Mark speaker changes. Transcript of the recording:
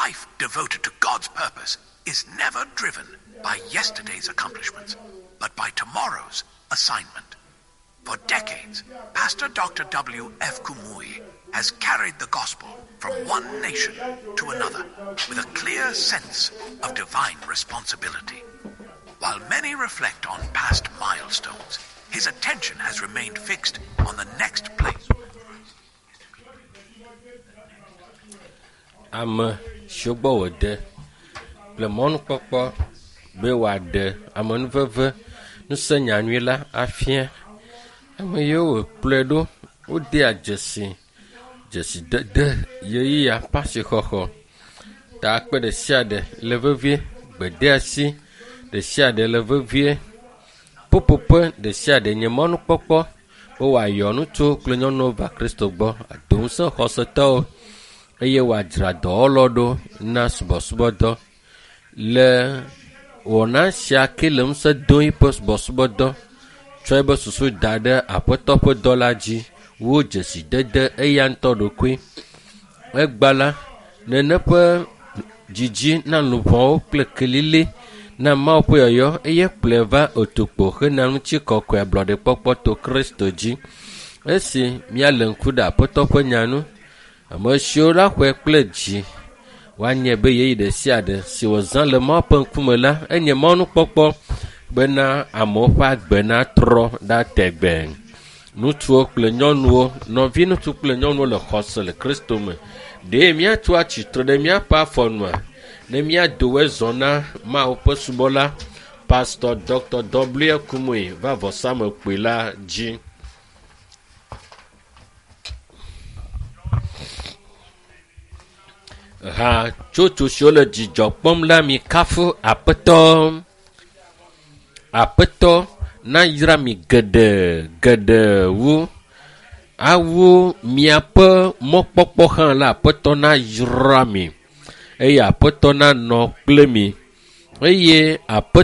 Speaker 1: life devoted to God's purpose is never driven by yesterday's accomplishments, but by tomorrow's assignment. For decades, Pastor Dr. W. F. Kumuyi has carried the gospel from one nation to another with a clear sense of divine responsibility. While many reflect on past milestones, his attention has remained fixed on the next place.
Speaker 2: Ame siwo gbɔ wòde kple mɔnukpɔkpɔ be wòaɖe amenuveve ŋusẽ nyanyui la afia. Ame yiwo wòkplɔe ɖo wodea dzesi dzesidede ʋeyiʋia ƒe asixɔxɔ. Ta akpe ɖe sia ɖe le vevie, gbedeasi ɖe sia ɖe le vevie, ƒuƒoƒe ɖe sia ɖe nye mɔnukpɔkpɔ be wòayɔ ŋutsuwo kple nyɔnuwo va Kristo gbɔ, ado ŋusẽ xɔsetɔwo eye wòadzra dɔwɔlawo ɖo na subɔsubɔdɔ. Le wɔna sia ke le ŋusẽ dom eƒe subɔsubɔdɔ tsɔ eƒe susu da ɖe Aƒetɔ ƒe dɔ la dzi wu dzesidede eya ŋutɔ ɖokui. Egba la, nene ƒe dzidzi na luʋɔwo kple kelili na Mawu ƒe yɔyɔ eye kplɔe va otukpo hena ŋutikɔkɔe ablɔɖekpɔkpɔ to Kristo dzi. Esi míalé ŋku ɖe Aƒetɔ ƒe nya ŋu, ame siwo la xɔe kple dzi woanye be ɣeyiɣi ɖe sia ɖe si wòzã le Mawu ƒe ŋkume la enye mɔnukpɔkpɔ bena amewo ƒe agbe natrɔ ɖa tegbee. Ŋutsuwo kple nyɔnuwo, nɔvi ŋutsu kple nyɔnuwo le xɔse le Kristo me. Ɖe míatso atsitre ɖe míaƒe afɔ nua ne míado zɔ na Mawu ƒe subɔla Pastor Dr. W. Kumuyi va vɔsamlekpui la dzi. Hatsotso siwo le dzidzɔ kpɔm la mi kafu Aƒetɔ. Aƒetɔ nayra mi geɖe geɖe wu. Awu miaƒe mɔkpɔkpɔ hã la Aƒetɔ nayra mi eye Aƒetɔ nanɔ kple mi eye Aƒetɔ.